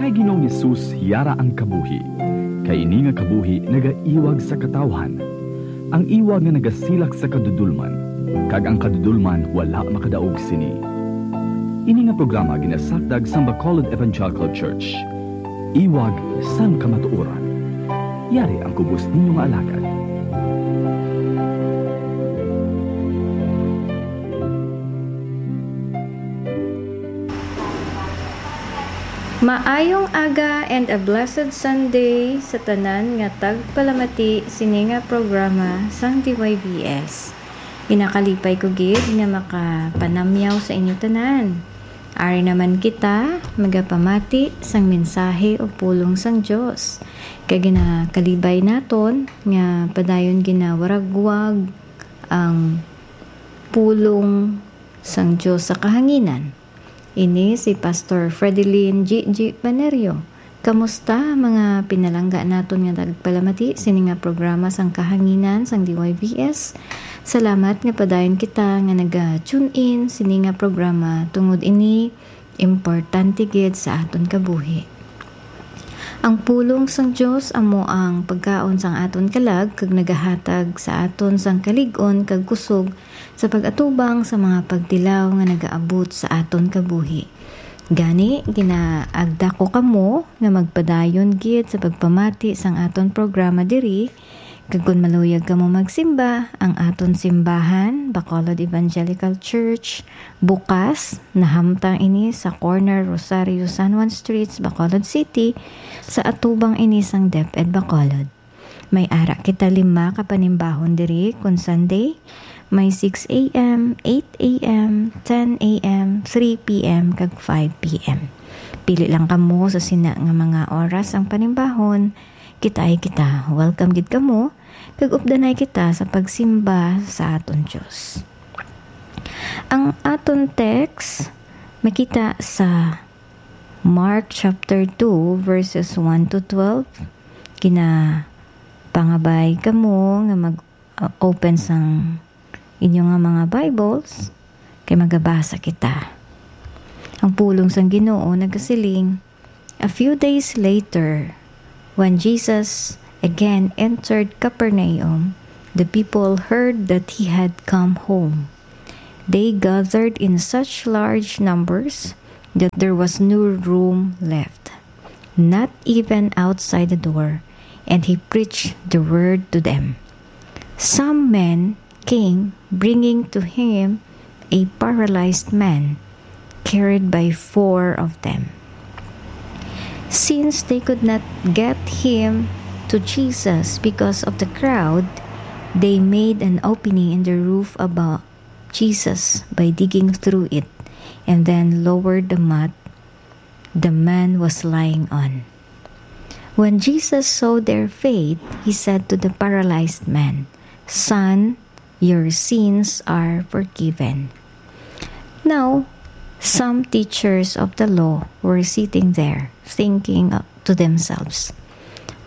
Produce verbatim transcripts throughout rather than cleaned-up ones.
Kay Ginoong Jesus yara ang kabuhi, kay ini nga kabuhi nagaiwag sa katawhan, ang iwag nga nagasilak sa kadudolman, kag ang kadudolman wala makadaog sini. Ini nga programa ginasakdag sang Bacolod Evangelical Church, iwag sang kamatuoran. Yari ang kubos ninyo nga alagad. Maayong aga and a blessed Sunday sa tanan nga tagpalamati sini nga programa sang D Y B S. Ginakalipay ko gid nga makapanamyaw sa inyo tanan. Ari naman kita magapamati sang mensahe o pulong sang Dios. Kay ginakalibay naton nga padayon ginawaragwag ang pulong sang Dios sa kahanginan. Ini si Pastor Fredelin G G Panerio. Kamusta, mga pinalangga naton nga nagpalamati sini nga programa sang kahanginan sang D Y B S? Salamat nga padayon kita nga naga-tune in sini nga programa, tungod ini importante gid sa aton kabuhi. Ang pulong sang Dios amo ang pagkaon sang aton kalag kag nagahatag sa aton sang kalig-on kag kusog sa pag-atubang sa mga pagtilaw nga nagaabot sa aton kabuhi. Gani, ginaagda ko kamo nga magpadayon gid sa pagpamati sang aton programa diri, kag kon maluyag kamo magsimba, ang aton simbahan, Bacolod Evangelical Church, bukas, nahamtang ini sa corner Rosario San Juan Streets, Bacolod City, sa atubang ini sang DepEd Bacolod. May ara kita lima ka panimbahon diri kon Sunday. May six a.m., eight a.m., ten a.m., three p.m., kag five p.m. Pili lang kamo sa sina nga mga oras ang panimbahon. Kitaay kita. Welcome gid kamo, kag updanay kita sa pagsimba sa aton Dios. Ang aton text makita sa Mark chapter two, verses one to twelve. Ginapangabay kamo nga mag, uh, open sang inyo nga mga Bibles, kay magabasa kita. Ang pulong sang Ginoo nagasiling, a few days later, when Jesus again entered Capernaum, the people heard that he had come home. They gathered in such large numbers that there was no room left, not even outside the door, and he preached the word to them. Some men came, bringing to him a paralyzed man, carried by four of them. Since they could not get him to Jesus because of the crowd, they made an opening in the roof above Jesus by digging through it, and then lowered the mat the man was lying on. When Jesus saw their faith, he said to the paralyzed man, "Son, your sins are forgiven." Now, some teachers of the law were sitting there, thinking to themselves,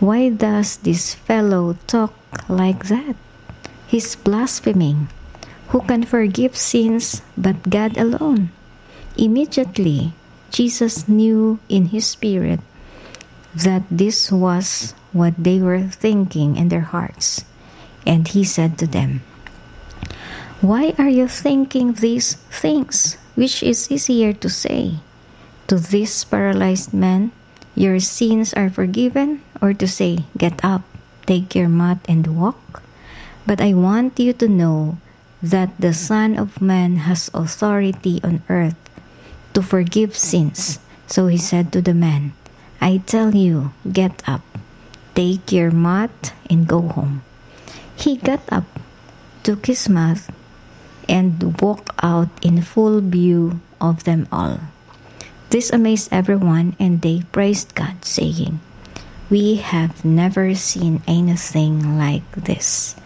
"Why does this fellow talk like that? He's blaspheming. Who can forgive sins but God alone?" Immediately, Jesus knew in his spirit that this was what they were thinking in their hearts, and he said to them, "Why are you thinking these things? Which is easier to say to this paralyzed man, 'Your sins are forgiven,' or to say, 'Get up, take your mat, and walk'? But I want you to know that the Son of Man has authority on earth to forgive sins." So he said to the man, "I tell you, get up, take your mat, and go home." He got up, took his mat, and walked out in full view of them all. This amazed everyone, and they praised God, saying, "We have never seen anything like this."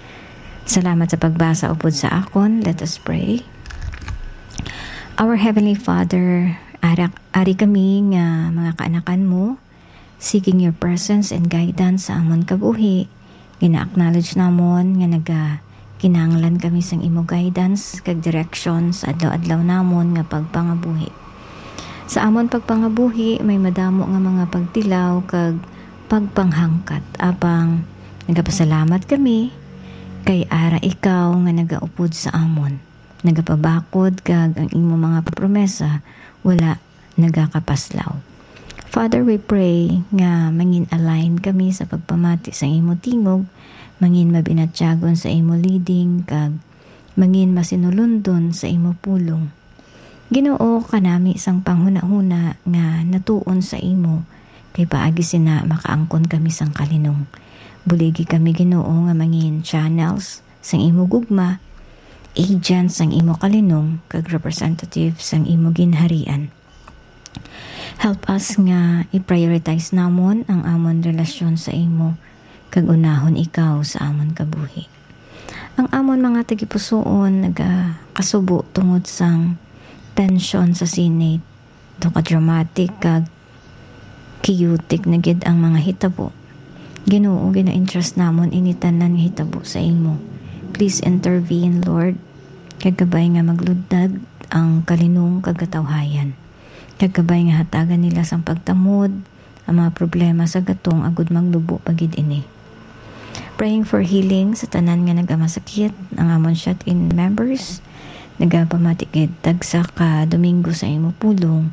Salamat sa pagbasa upod sa akon. Let us pray. Our Heavenly Father, ara-, ari kami nga mga kaanakan mo, seeking your presence and guidance sa amon kabuhi. Gina-acknowledge namon nga naga-, kinahanglan kami sang imo guidance kag direction sa adlaw-adlaw namon nga pagpangabuhi. Sa amon pagpangabuhi, may madamo nga mga pagtilaw kag pagpanghangkat. Apang nagapasalamat kami kay ara ikaw nga nagaupod sa amon. Nagapabakod kag ang imo mga promesa wala nagakapaslaw. Father, we pray nga mangin-align kami sa pagpamati sa imo tingog, mangin mabinatyagon sa imo leading, kag mangin masinulundon sa imo pulong. Ginoo, kanami sang panghunahuna nga natuon sa imo, kay paagi sina makaangkon kami sang kalinong. Buligi kami, Ginoo, nga mangin channels sang imo gugma, agents sang imo kalinong, kag representative sang imo ginharian. Help us nga i-prioritize namon ang amon relasyon sa imo, kag unahon ikaw sa amon kabuhi. Ang amon mga tagipusoon nagakasubo tungod sang tensyon sa Senate. Daw ka dramatic kag chaotic na gid ang mga hitabo. Ginoo, gina-entrust namon ini tanan nga hitabo sa imo. Please intervene, Lord, kag kabay nga maglundag ang kalinong kag katawhayan. Kag kabay nga hatagan nila sang pagtamod ang mga problema sa gatong agud maglubo pa gid ini. Praying for healing sa tanan nga nagamasakit, ang amon shut-in members, nagapamati gid tagsa ka Domingo sa imo pulong,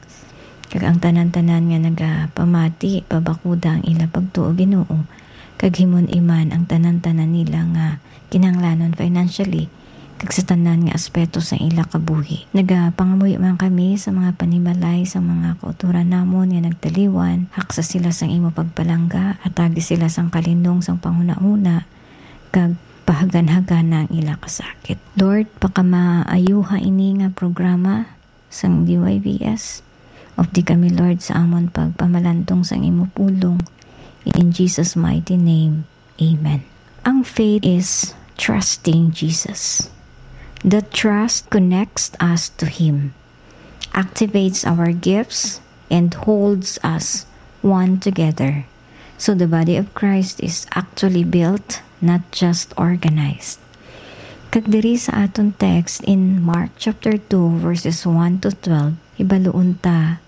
kag ang tanan-tanan nga nagapamati, pabakuda ang ila pagtuo, Ginoo, kag himun-i man ang tanan-tanan nila nga kinahanglanon financially, kag sa tanan nga aspeto sang ila kabuhi. Nagapangamuyo man kami sa mga panimalay sang mga kautoran namon nga nagtaliwan, haksa sila sang imo pagpalangga, atagi sila sang kalinong sang panghunahuna, kag pahaganhagana ang ila kasakit. Lord, pakamaayuha ini nga programa sang D Y V S. Updi kami, Lord, sa amon pagpamalantong sang imo pulong. In Jesus' mighty name, amen. Ang faith is trusting Jesus. The trust connects us to Him, activates our gifts, and holds us one together. So the body of Christ is actually built, not just organized. Kag diri sa aton text in Mark chapter two, verses one to twelve, hibaluon ta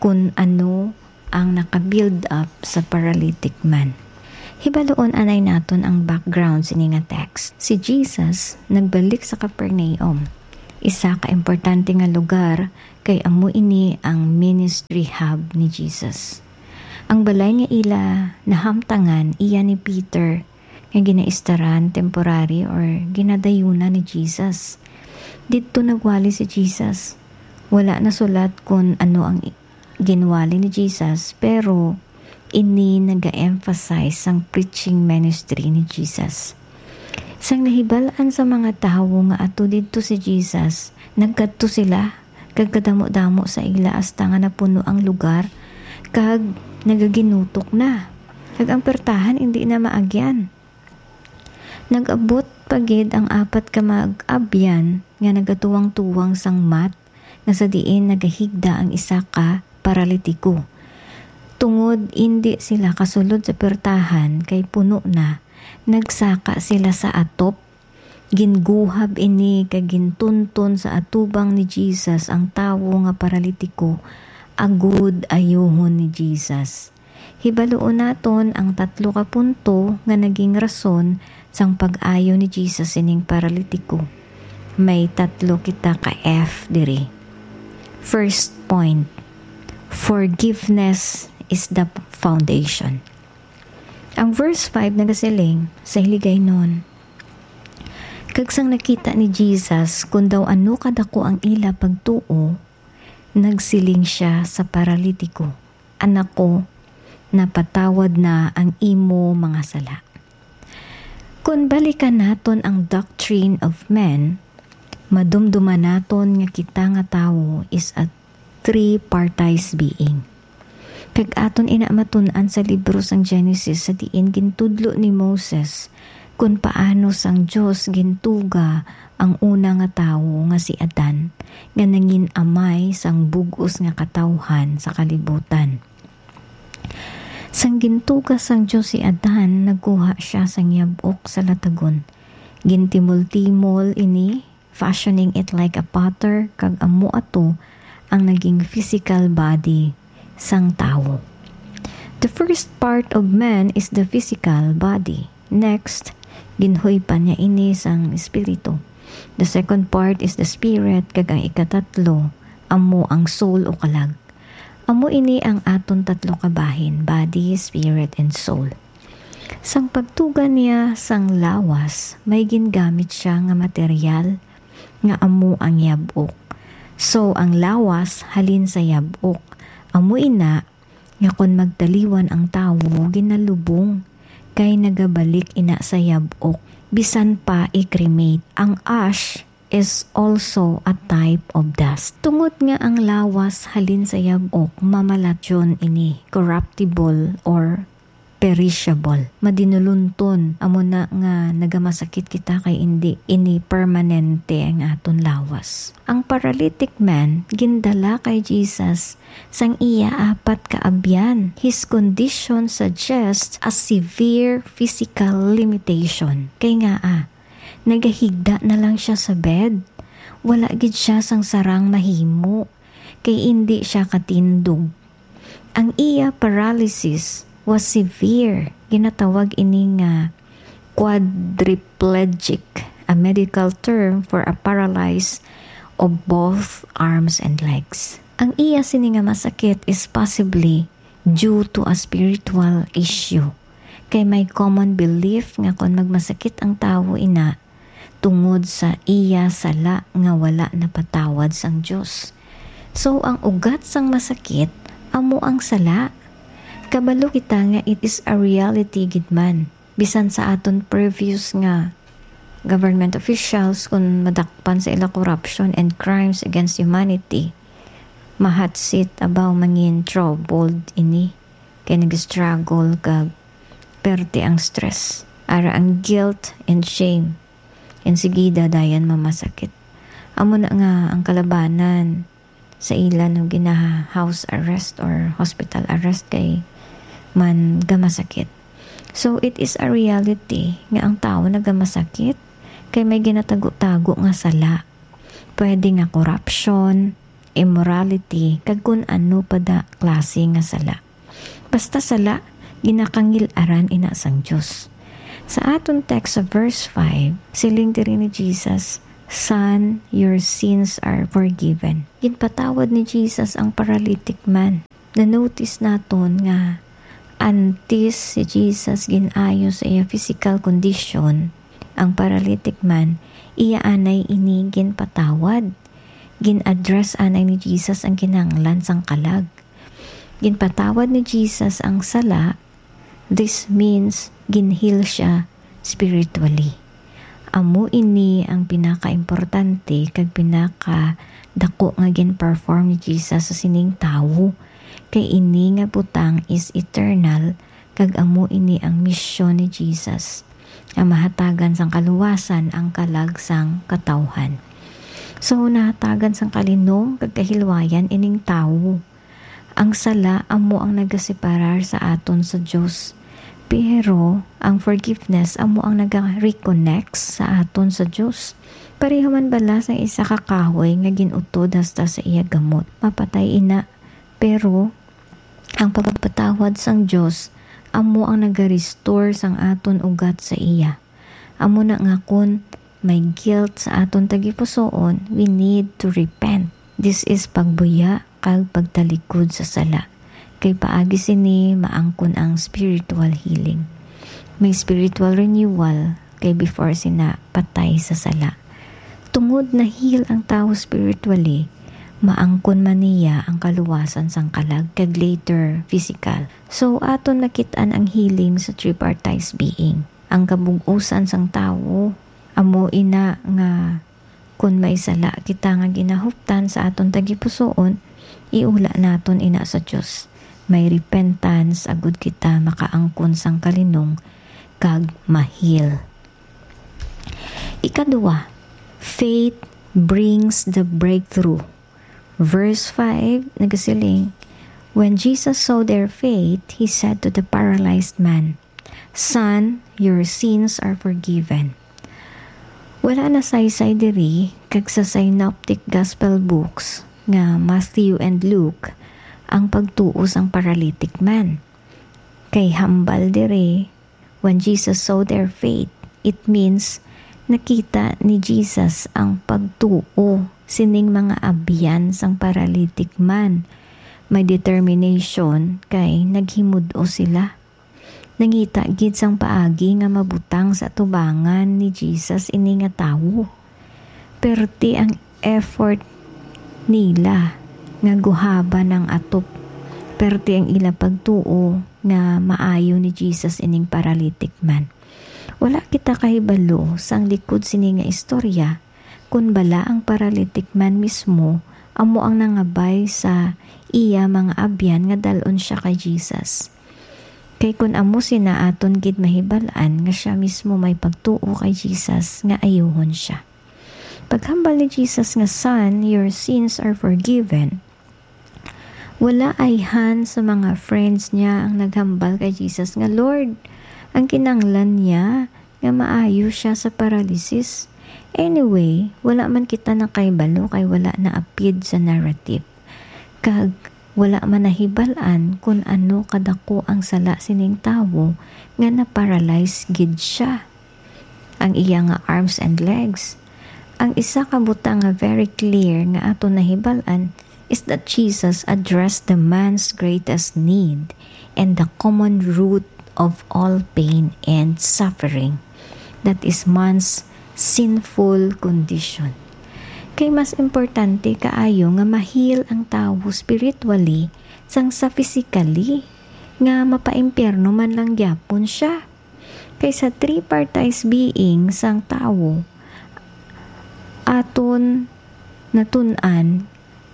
kun ano ang naka-build up sa paralytic man. Hibaluon anay naton ang background sini nga text. Si Jesus nagbalik sa Capernaum, isa ka importante nga lugar, kay amo ini ang ministry hub ni Jesus. Ang balay nga ila nahamtangan iya ni Peter, nga ginaistaran, temporary, or ginadayunan ni Jesus. Didto nagwali si Jesus. Wala nasulat kon ano ang i-, ginwali ni Jesus, pero ini naga-emphasize sang preaching ministry ni Jesus. Sang nahibal-an sa mga tawo nga ato didto si Jesus, nagkadto sila, kag kadamo-damo sa ila, hasta nga napuno ang lugar, kag nagaginutok na. Kag ang pertahan indi na maagyan. Nag-abot pa gid ang apat ka mag-abyan nga nagatuwang-tuwang sang mat nga sa diin nagahigda ang isa ka paralitiko. Tungod indi sila kasulod sa pertahan kay puno na, nagsaka sila sa atop. Ginguhab ini kag gintunton sa atubang ni Jesus ang tawo nga paralitiko, agud ayuhon ni Jesus. Hibaluon naton ang tatlo ka punto nga naging rason sang pag-ayo ni Jesus sining paralitiko. May tatlo kita ka F diri. First point, forgiveness is the foundation. Ang verse five nagasiling sa Hiligaynon, "Kag sang nakita ni Jesus kon daw ano kadako ang ila pagtuo, nagsiling sia sa paralitiko, 'Anak ko, napatawad na ang imo mga sala.'" Kon balikan naton ang doctrine of men, madumduman naton nga kita nga tawo is a tripartite being. Kag aton ina matun-an sa libro sang Genesis, sa diin gintudlo ni Moses kon paano sang Dios gintuga ang una nga tawo nga si Adan, nga nangin amay sang bug-os nga katawhan sa kalibutan. Sang gintuga sang Dios si Adan, nagkuha sia sang yab-ok sa latagon. Gintimol-timol ini, fashioning it like a potter, kag amo ato ang naging physical body sang tawo. The first part of man is the physical body. Next, ginhuypan niya ini sang espiritu. The second part is the spirit, kag ang ikatatlo amo ang soul o kalag. Amo ini ang aton tatlo ka bahin, body, spirit, and soul. Sang pagtuga niya sang lawas, may gingamit siya nga material nga amo ang yab-ok. So, ang lawas halin sa yab-ok. Amo ina nga kon magtaliwan ang tawo, ginalubong, kay nagabalik ina sa yab-ok, bisan pa i-cremate. Ang ash is also a type of dust. Tungod nga ang lawas halin sa yab-ok, mamalatyon ini, corruptible or perishable. Madinulunton, amo na nga nagamasakit kita kay indi ini permanente ang aton lawas. Ang paralytic man, gindala kay Jesus sang iya apat ka abyan. His condition suggests a severe physical limitation. Kay ngaa, nagahigda na lang siya sa bed. Wala gid siya sang sarang mahimo, kay indi siya katindog. Ang iya paralysis was severe. Ginatawag ini nga quadriplegic, a medical term for a paralyzed of both arms and legs. Ang iya sini nga masakit is possibly due to a spiritual issue. Kay may common belief nga kon magmasakit ang tawo ina, tungod sa iya sala nga wala napatawad sang Dios. So, ang ugat sang masakit amo ang sala. Kabalo kita nga it is a reality gid man. Bisan sa aton previous nga government officials, kun madakpan sa ila corruption and crimes against humanity, ma-hot seat abaw mangin troubled ini, kay nag-struggle kag perte ang stress, ara ang guilt and shame. Insigida dayon mamasakit. Amo na nga ang kalabanan sa ila no gina-house arrest or hospital arrest kay man gamasakit. So, it is a reality nga ang tawo nagamasakit kay may ginatago-tago nga sala. Pwede nga corruption, immorality, kag kun ano pa da klase nga sala. Basta sala, ginakangil-aran ina sang Dios. Sa aton text sa verse five, siling diri ni Jesus, "Son, your sins are forgiven." Ginpatawad ni Jesus ang paralytic man. Na-notice naton nga antes si Jesus gin-ayo sa iya physical condition, ang paralytic man, iya anay ini ginpatawad. Gin-address anay ni Jesus ang kinahanglan sang kalag. Ginpatawad ni Jesus ang sala. This means ginheal siya spiritually. Amo ini ang pinakaimportante kag pinakadako nga gin-perform ni Jesus sa sining tawo, kay ini nga butang is eternal, kag amo ini ang misyon ni Jesus, nga mahatagan sang kaluwasan ang kalag sang katawhan. So, nahatagan sang kalinong kag kahilwayan ining tawo. Ang sala amo ang nagaseparar sa aton sa Dios, pero ang forgiveness amo ang naga-reconnect sa aton sa Dios. Pareho man bala sa isa ka kahoy nga gin-utod hasta sa iya gamot, mapatay ina, pero ang pagpatawad sang Dios amo ang naga-restore sang aton ugat sa iya. Amo na nga kun may guilt sa aton tagipusoon, we need to repent. This is pagbuya kag pagtalikod sa sala. Kay paagi sini maangkon ang spiritual healing. May spiritual renewal kay before sina patay sa sala. Tungod na-heal ang tawo spiritually, maangkon man niya ang kaluwasan sang kalag kag later physical. So, aton nakit-an ang healing sa tripartite being. Ang kabug-usan sang tawo amo ina nga kon may sala kita nga ginahuptan sa aton tagipusoon, iula naton ina sa Dios. May repentance agud kita makaangkon sang kalinong kag ma-heal. Ikaduha, faith brings the breakthrough. Verse five nagasiling, "When Jesus saw their faith, he said to the paralyzed man, 'Son, your sins are forgiven.'" Wala na saysay diri kag sa synoptic gospel books, nga Matthew and Luke ang pagtuo sang paralytic man. Kay hambal diri, when Jesus saw their faith, it means nakita ni Jesus ang pagtuo sining mga abyan sang paralytic man. May determination kay naghimud-o sila. Nangita gid sang paagi nga mabutang sa atubangan ni Jesus ini nga tawo. Perti ang effort nila nga guhaban ang atop. Perti ang ila pagtuo nga maayo ni Jesus ining paralytic man. Wala kita kahibalo sang likod sini nga istorya, kun bala ang paralytic man mismo amo ang nangabay sa iya mga abyan nga dal-on sia kay Jesus. Kay kun amo sina, aton gid mahibal-an nga sia mismo may pagtuo kay Jesus nga ayuhon sia. Paghambal ni Jesus nga, "Son, your sins are forgiven," wala ayhan sa mga friends niya ang naghambal kay Jesus nga, "Lord, ang kinahanglan niya nga maayo siya sa paralysis." Anyway, wala man kita nakahibalo kay wala naapid sa narrative. Kag wala man nahibal-an kun ano kadako ang sala sining tawo nga na-paralyze gid sia, ang iya nga arms and legs. Ang isa ka butang nga very clear nga aton nahibal-an is that Jesus addressed the man's greatest need and the common root of all pain and suffering, that is, man's sinful condition. Kay mas importante kaayo nga ma-heal ang tawo spiritually sang sa physically, nga mapaimpyerno man lang gyapon sia. Kay sa tripartite being sang tawo, aton natun-an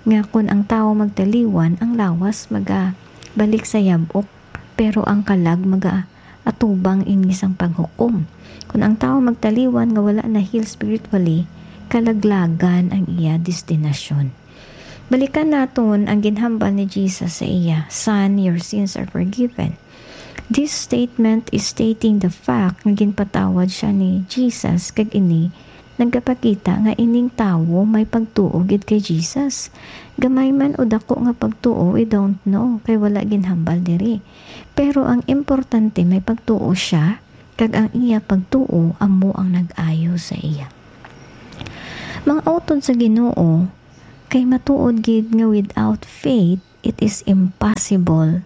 nga kon ang tawo magtaliwan, ang lawas magabalik sa yab-ok, pero ang kalag magaatubang ini sang paghukom. Kon ang tawo magtaliwan nga wala na-heal spiritually, kalaglagan ang iya destinasyon. Balikan naton ang ginhambal ni Jesus sa iya, "Son, your sins are forgiven." This statement is stating the fact nga ginpatawad sia ni Jesus, kag ini nagapakita nga ining tawo may pagtuo gid kay Jesus. Gamay man o dako nga pagtuo, we don't know, kay wala ginhambal diri. Pero ang importante, may pagtuo sia, kag ang iya pagtuo amo ang nag-ayo sa iya. Mga utod sa Ginoo, kay matuod gid nga without faith, it is impossible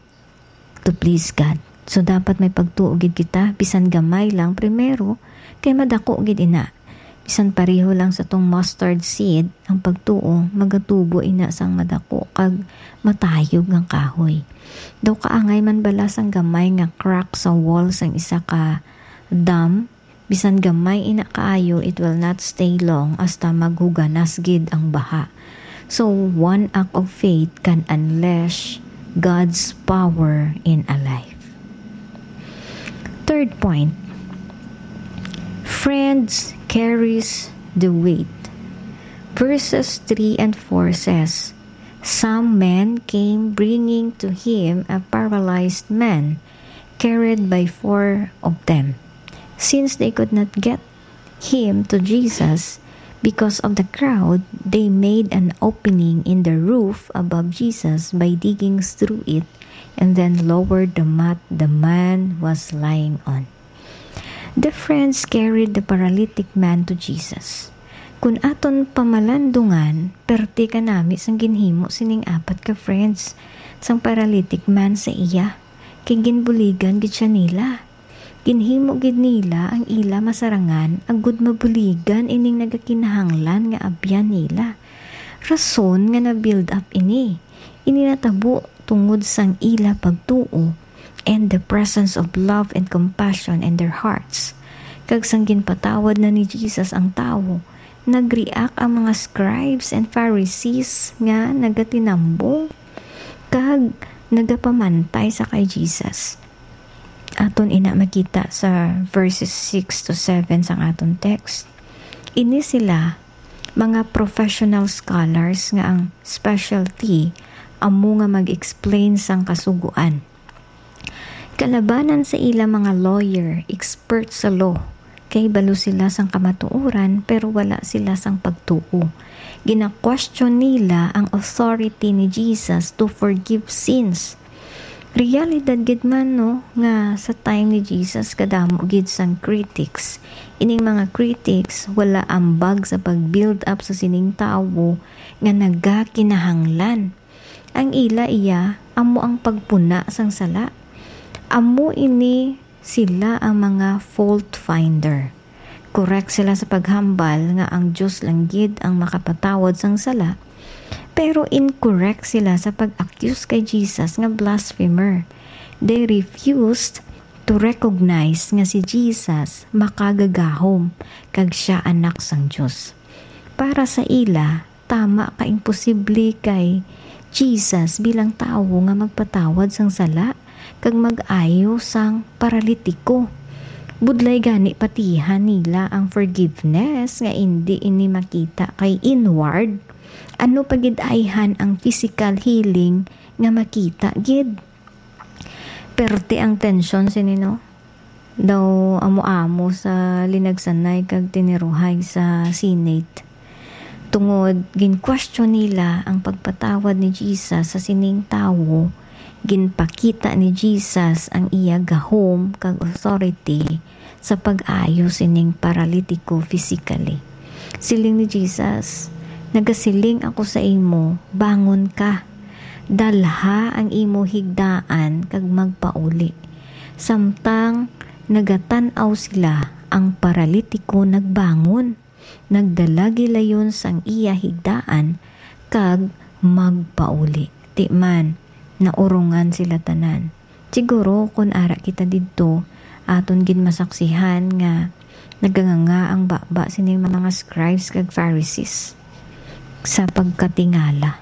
to please God. So, dapat may pagtuo gid kita, bisan gamay lang primero, kay madako gid ina. Bisan pareho lang sa tong mustard seed, ang pagtuo magatubo ina sang madako kag matayog nga kahoy. Daw kaangay man bala sang gamay nga crack sa wall sang isa ka dam, bisan gamay ina kaayo, it will not stay long hasta maghuganas gid ang baha. So, one act of faith can unleash God's power in a life. Third point, friends carries the weight. Verses three and four says, "Some men came bringing to him a paralyzed man, carried by four of them. Since they could not get him to Jesus because of the crowd, they made an opening in the roof above Jesus by digging through it and then lowered the mat the man was lying on." The friends carried the paralytic man to Jesus. Kun aton pamalandungan, perti kanami sang ginhimo sining apat ka friends sang paralytic man sa iya, kay ginbuligan gid sia nila. Ginhimo gid nila ang ila masarangan agud mabuligan ining nagakinahanglan nga abyan nila. Rason nga na-build up ini. Ini natabo tungod sang ila pagtuo and the presence of love and compassion in their hearts. Kag sang ginpatawad na ni Jesus ang tawo, nag-react ang mga scribes and Pharisees nga nagatinambong kag nagapamantay sa kay Jesus. Aton ina makita sa verses six to seven sang aton text. Ini sila mga professional scholars nga ang specialty amo nga mag-explain sang Kasugoan. Kalabanan sa ila mga lawyer, expert sa law, kay balo sila sang kamatuoran, pero wala sila sang pagtuo. Gina-question nila ang authority ni Jesus to forgive sins. Realidad gid man, no, nga sa time ni Jesus kadamo gid sang critics. Ining mga critics wala ambag sa pag-build up sa sining tawo nga nagakinahanglan. Ang ila iya amo ang pagpuna sang sala. Amo ini sila ang mga fault finder. Correct sila sa paghambal nga ang Dios lang gid ang makapatawad sang sala, pero incorrect sila sa pag-accuse kay Jesus nga blasphemer. They refused to recognize nga si Jesus makagagahom kag siya anak sang Dios. Para sa ila, tama ka imposible kay Jesus bilang tawo nga magpatawad sang sala kag mag-ayo sang paralitiko. Budlay gani patihan nila ang forgiveness nga indi ini makita kay inward. Ano pa gid ayhan ang physical healing nga makita gid? Perte ang tensyon sini, no? Daw amo-amo sa linagsanay kag tiniruhay sa Senate. Tungod gin-question nila ang pagpatawad ni Jesus sa sining tawo, ginpakita ni Jesus ang iya gahom kag authority sa pag-ayo sining paralitiko physically. Siling ni Jesus, "Nagasiling ako sa imo, bangon ka, dalha ang imo higdaan kag magpauli." Samtang nagatan-aw sila, ang paralitiko nagbangon, nagdala gilayon sang iya higdaan, kag magpauli. Ti man, naurongan sila tanan. Siguro, kun ara kita didto, aton gid masaksihan nga naganganga ang baba sining mga scribes kag Pharisees sa pagkatingala.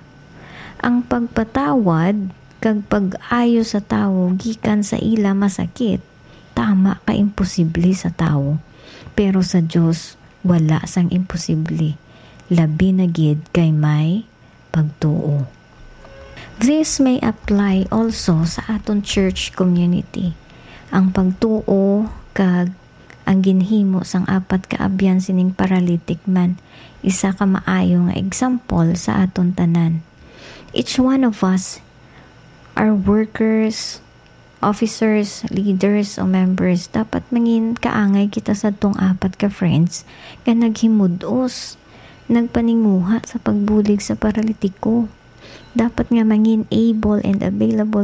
Ang pagpatawad kag pag-ayo sa tawo gikan sa ila masakit, tama ka imposible sa tawo, pero sa Dios wala sang imposible, labi na gid kay may pagtuo. This may apply also sa aton church community. Ang pagtuo kag ang ginhimo sang apat ka abyan sining paralytic man isa ka maayo nga example sa aton tanan. Each one of us are workers, officers, leaders, o members. Dapat mangin kaangay kita sa tong apat ka friends nga naghimud-os, nagpaninguha sa pagbulig sa paralitiko. Dapat nga mangin able and available